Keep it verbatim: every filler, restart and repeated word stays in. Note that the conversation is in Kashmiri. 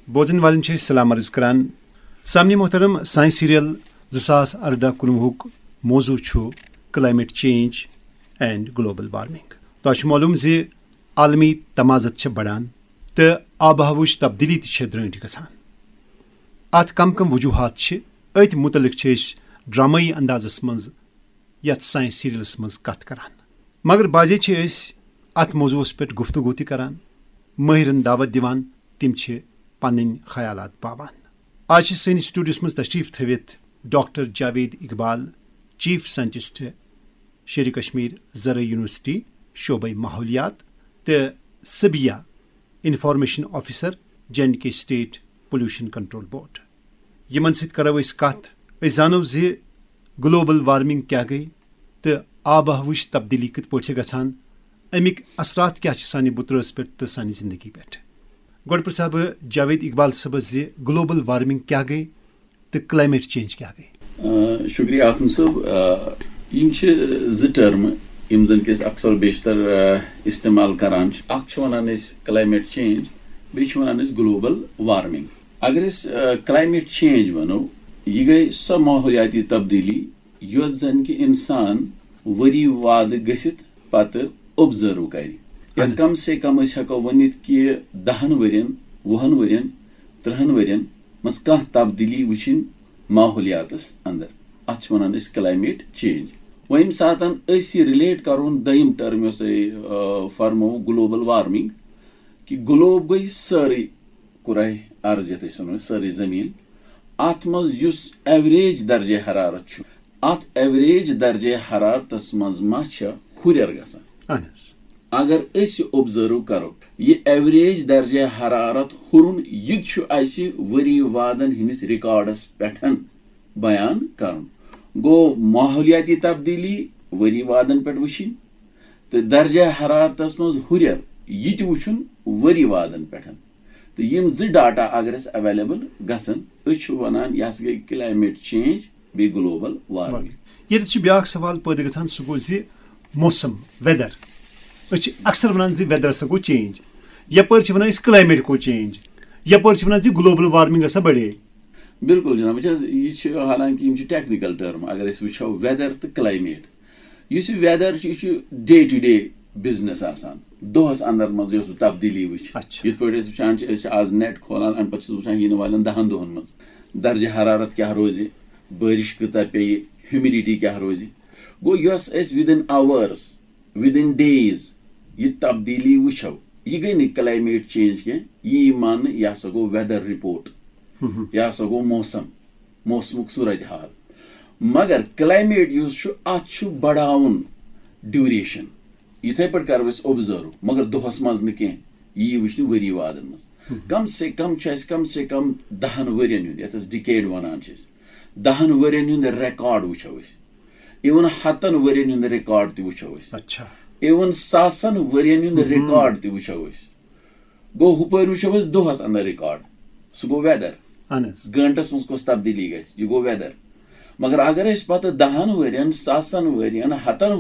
بوزن والن چھِ أسۍ سلام عرض کران۔ سامعین محترم، سانہِ سیریل زٕ ساس اردہ کُنوُہُک موضوع چھُ climate change and global warming. تۄہہِ چھُ معلوم زِ عالمی تمازت چھِ بڑان تہٕ آب و ہوہٕچ تبدیلی تہِ چھِ درٛٲنٛٹھ گژھان۔ اتھ کم کم وجوہات چھِ، أتھۍ متعلق چھِ أسۍ ڈرامٲیی اندازس منٛز یتھ سانہِ سیریلس منٛز کتھ کران۔ مگر بعضے چھِ أسۍ اتھ موضوعس پٮ۪ٹھ گفتگو تہِ کران، مٲہرن دعوت دِوان، تِم چھِ پنٕنۍ خیالات باوان۔ آز چھِ سٲنِس سٹوڈیوس منٛز تشریف تھٲوِتھ doctor Javed Iqbal, chief scientist Sher Kashmir زرعی یونیورسٹی، شعبہ ماحولیات، تہٕ Sabiya, information officer, J and K state pollution control board. یِمن سۭتۍ کرو أسۍ کتھ، أسۍ زانو زِ گلوبل وارمنگ کیٛاہ گٔے تہٕ آب و ہوہٕچ تبدیلی کِتھ پٲٹھۍ چھِ گژھان، اَمِکۍ اثرات کیٛاہ چھِ سانہِ بُترٲژ پٮ۪ٹھ تہٕ سانہِ زندگی پٮ۪ٹھ۔ گۄڈٕ پرژھٕ ہا بہٕ جاوید اقبال صٲبس زِ گلوبل وارمنگ کیٛاہ گٔے تہٕ کلائمیٹ چینج کیٛاہ گٔے؟ آ، شکریہ آخم صٲب۔ آ، یِم چھِ زٕ ٹرمہٕ یِم زن کہِ أسۍ اکثر و بیشتر، آ، استعمال کران چھِ۔ اکھ چھِ ونان أسۍ کلائمیٹ چینج، بیٚیہِ چھِ ونان أسۍ گلوبل وارمنگ۔ اگر أسۍ، آ، کلائمیٹ چینج ونو، یہِ گٔے سۄ ماحولیاتی تبدیلی یۄس زن کہِ انسان ؤری وادٕ گٔژھِتھ پتہٕ آبزرو کرِ۔ یا اہن۔ کم سے کم أسۍ ہٮ۪کو ؤنِتھ کہِ دہن ؤرین، وُہن ؤرین، ترٕہن ؤرین منٛز کانٛہہ تبدیلی وٕچھِنۍ ماحولیاتس اندر۔ اتھ چھِ ونان أسۍ کلائمیٹ چینج۔ وۄنۍ ییٚمہِ ساتن أسۍ یہِ رِلیٹ کرون دوٚیِم ٹرم یۄس تۄہہِ، آ، فرموو، گلوبل وارمنگ، کہِ گلوب گٔے سٲرٕے کرہ ارض، یتھ أسۍ ونو سٲرٕے زٔمیٖن۔ اتھ منٛز یُس ایوریج درجہ حرارت چھُ، اتھ ایوریج درجہ حرارتس منٛز ما چھِ ہُرٮ۪ر گژھان؟ اہن حظ۔ اگر أسۍ یہِ آبزرو کرو، یہِ ایوریج درجہ حرارت ہُرُن، یہِ تہِ چھُ اسہِ ؤری وادن ہٕنٛدِس ریکارڈس پٮ۪ٹھ بیان کرُن۔ گوٚو، ماحولیاتی تبدیلی ؤری وادن پٮ۪ٹھ وٕچھِنۍ تہٕ درجہ حرارتس منٛز ہُرٮ۪ر، یہِ تہِ وٕچھُن ؤری وادن پٮ۪ٹھ۔ تہٕ یِم زٕ ڈاٹا اگر اَسہِ اویلیبل گژھن، أسۍ چھِ وَنان یہِ ہسا گٔے کلائمیٹ چینج بیٚیہِ گلوبل وارمنگ۔ ییٚتہِ چھُ بیٛاکھ سوال پٲدٕ گژھان، سُہ گوٚو زِ موسم، ویدر۔ أسۍ چھِ اکثر وَنان زِ ویدر ہسا گوٚو چینج، یپٲرۍ چھِ وَنان أسۍ کلائمیٹ گوٚو چینج، یپٲرۍ چھِ وَنان زِ گلوبل وارمنگ ہسا بڑے۔ بِلکُل جناب، وٕچھ حظ، یہِ چھِ، حالانکہِ یِم چھِ ٹیکنیکل ٹرم، اگر أسۍ وٕچھو ویدر تہٕ کلائمیٹ، یُس یہِ ویدر چھُ، یہِ چھُ ڈے ٹو ڈے بزنس آسان۔ دۄہس اندر منٛز یۄس بہٕ تبدیلی وٕچھ، اچھا۔ یِتھ پٲٹھۍ أسۍ وٕچھان چھِ، أسۍ چھِ آز نیٹ کھولان، امہِ پتہٕ چھِ أسۍ وٕچھان یِنہٕ والٮ۪ن دہن دۄہن منٛز درجہ حرارت کیٛاہ روزِ، بٲرِش کۭژاہ پیٚیہِ، ہیومڈیٹی کیٛاہ روزِ۔ گوٚو، یۄس أسۍ within hours، within days یہِ تبدیلی وٕچھو، یہِ گٔے نہٕ کلائمیٹ چینج کینٛہہ، یہِ یی ماننہٕ، یہِ ہسا گوٚو ویدر رپورٹ، ہم۔ یہِ ہسا گوٚو موسم، موسمُک صورت حال۔ مگر کلائمیٹ یُس چھُ، اتھ چھُ بڑاوُن ڈیوریشن۔ یِتھے پٲٹھۍ کرو أسۍ آبزرو، مگر دۄہس منٛز نہٕ کینٛہہ، یہِ یی وٕچھنہٕ ؤری وادن منٛز۔ ہم۔ کم سے کم چھُ اسہِ کم سے کم دہن ؤرین ہُنٛد، یتھ أسۍ ڈِکیڈ ونان چھِ أسۍ، دہن ؤرین ہُنٛد ریکارڈ وٕچھو أسۍ، اِون ہتن ؤرین ہُنٛد ریکارڈ تہِ وٕچھو أسۍ، اچھا۔ اِون ساسن ؤرین ہُنٛد ہم۔ ریکارڈ تہِ وٕچھو أسۍ۔ گوٚو، ہُپٲرۍ وٕچھو أسۍ دۄہس اندر ریکارڈ، سُہ گوٚو ویدر۔ اہن حظ۔ گٲنٹس منٛز کۄس تبدیلی گژھِ، یہِ گوٚو ویدر۔ مگر اگر أسۍ پتہٕ دہن ؤرین، ساسن ؤرین، ہتن ؤرین